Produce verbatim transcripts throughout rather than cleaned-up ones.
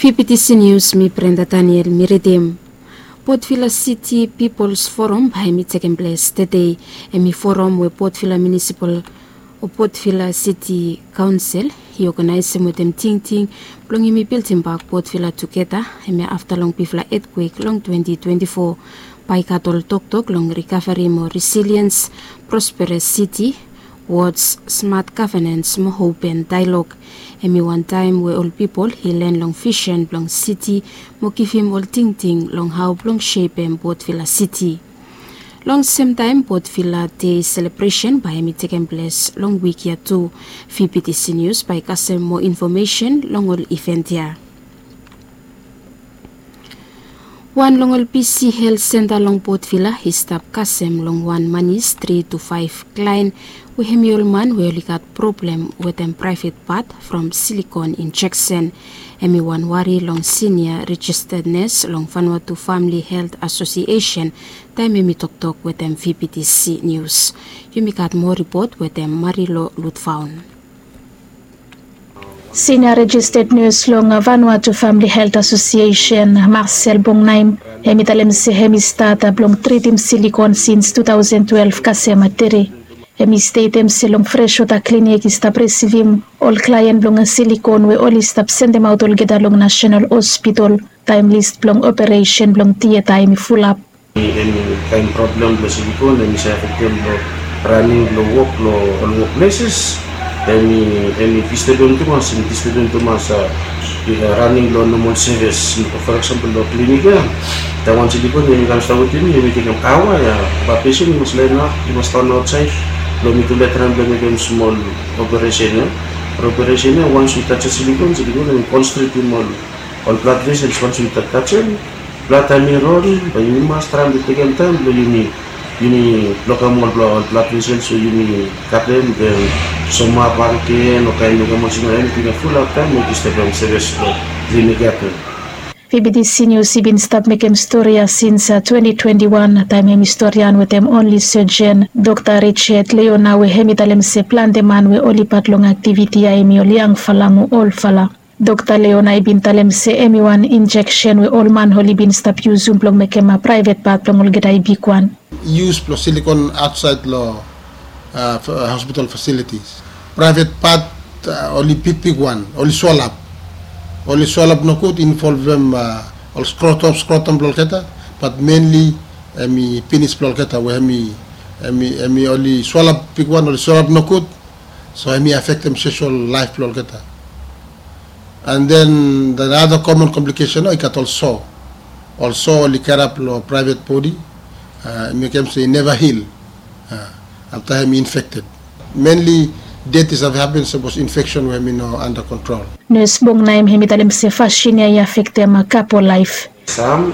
Fifty Senius, mi Brenda Daniel, mi ridim. Port Vila City People's Forum bae hemi tekem ples tedei. Hemi forum we Port Vila Municipal o Port Vila City Council i oganaesem wetem tingting blong hemi bildimbak Port Vila tugeta, hemia afta long bigfala etkwek long twenty twenty-four. Bae i gat ol toktok long rikaveri mo resiliens, prosperes siti, wods, smat gavenens mo open daelog. Hemi wan taem we ol pipol i len long visen blong siti mo givim ol tingting long hao blong sepem Port Vila City. Long semtaem Port Vila Dei selebresen bae hemi tekem ples long wik ya tu. Fifty Senius bae i kasem moa infomesen long ol iven ya. Wan long ol bisi helt senta long Port Vila i stap kasem long wan manis tri tu faef klaen we hemi ol man we oli gat problem wetem praevet pat from silikon injeksen. Hemi wan wari long sinia rejisted nes long Vanuatu Famili Helt Asosiesen taem hemi toktok wetem Fifty Senius. Yumi gat moa ripot wetem Marilo Lutvaon. Sinia rejisted nes long Vanuatu Famili Helt Asosiesen, Marcel Bongnaim, hemi talem se hemi stat blong tritim silikon sins tu taosen twelef kasem tede. Hemi stetem se long freswota klinik i stap risivim ol klaen blong silikon we oli stap sendemaot olgeta long Nasenal Hospitol taem lis blong operesen blong tieta hemi fulap. Eni kaen problem blong silikon hemi save afektem long raning blong wok long ol wokpleses. Hemi hemi distebem tumas, hemi distebem tumas raning blong nomol sevis. For eksampol long klinik ya, taem wan silikon hemi kam stap wetem mi, hemi tekem aoa ya. Bae pesen i mas laenap, i mas tan aotsaed blong mi tu lae traem blong mekem smol operesen ya. Operesen ya, wans yu tajem silikon, silikon hemi konstriktem ol ol blad vesels. Wans yu tajem blad taem i ron, bae yumi mas traem blong tekem taem blong yumi yumi blokem ol blad vesels we yumi katem, den somap bakegen o kaen mekem olsem ya, eniting ya fulap taem we i distebem sevis blong klinik ya tu. Fifty Senius i bin stap mekem stori ya sins twenti twenti wan taem hemi storian wetem onli sejen, Dokta Richard Leona, we hemi talem se plante man we oli pat long aktiviti ya hemi ol yangfala mo olfala. Dokta Leona i bin talem se hemi wan injeksen we ol man oli bin stap yusum blong mekem praevet pat blong olgeta i bigwan. Yus blong silikon aotsaed long hospital fasilitis. Praevet pat oli bigbigwan, oli swalap. Oli swalap nogud, involvem ol skrotom, skrotom blong olgeta, bat menli hemi pinis blong olgeta we hemi, hemi, hemi oli swalap bigwan, oli swalap nogud. So hemi afektem soshal laef blong olgeta. And then the other common complication, i gat ol so. Ol so oli karap long praevet bodi, i mekem se i neva hil afta hemi infekted. Menli det i save hapen sapos infeksen we hemi no anda kontrol. Nes Bongnaim hemi talem se fasin ya i afektem kapol laef. Sam,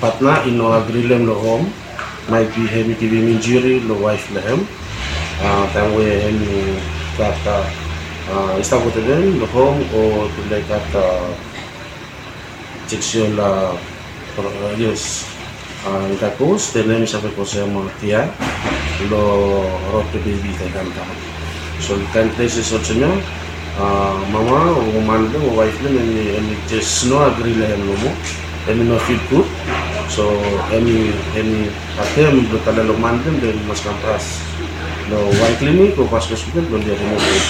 patna i no agri long hem long hom. Maet bi hemi givim injuri long waef blong hem taem we hemi gat, i stap wetem hem long hom o tufala i gat seksual, yes, intercourse, den hemi save kosem tia long rod blong bebi taem i kamdaon. So kaen pleses olsem ya, mama o man blong hem o waef blong hem hemi jes no agri long hem nomo. Hemi no fil gud. So hemi, hemi atem blong tale long man blong hem, den i mas kam fas long wan klinik o fas hospital blong oli rimuvum.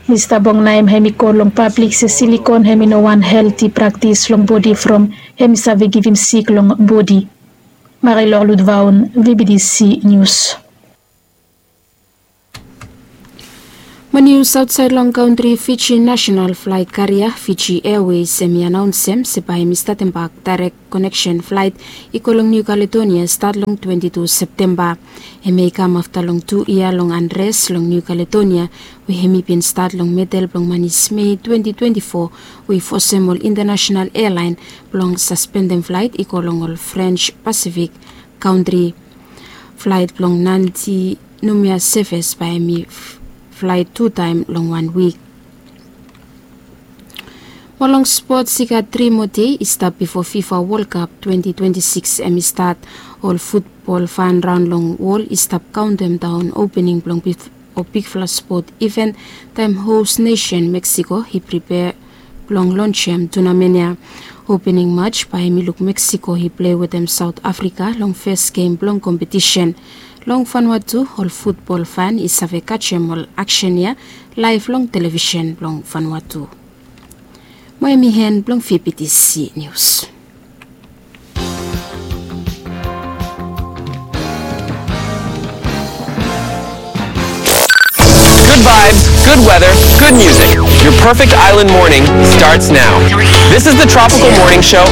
Mista Bongnaim hemi kol long pablik se silikon hemi no wan helti praktis long bodi from hemi save givim sik long bodi. Marilor Ludvaon, V B D C News. Mo nius aotsaed long kantri, Fiji nasenal flaet karia Fiji Airways hemi anaonsem se bae hemi statem bak daerek koneksen flaet i go long Niu Kaledonia stat long twenti tu Septemba. Hemia i kam afta long tu yia long anres long Niu Kaledonia we hemi bin stat long medel blong manis Mei twenti twenti fo, we i fosem ol intanasenal ealaen blong saspendem flaet i go long ol Frens Pasifik kantri. Flaet blong Nadi Numea Seves bae hemi flaet tu taem long wan wik. Mo long spots, i gat tri moa dei i stap bifo FIFA World Cup twenti twenti sikis hemi stat. Ol futbol fan raon long wol i stap kaontem daon opening blong bif- o bigfala spot iven taem hos nesen Meksiko i pripea blong lonsem tunamen ya. Opening match bae hem i luk Meksiko i plei wetem Saot Afrika long fes gem blong kompetisen. Long Vanuatu ol futbol fan i save kajem ol aksen ya laef long televisen blong Vanuatu. Mo hem i hen blong V B T C Nius. Good vibes, good weather, good music. Your perfect island morning starts now. This is the Tropical Morning Show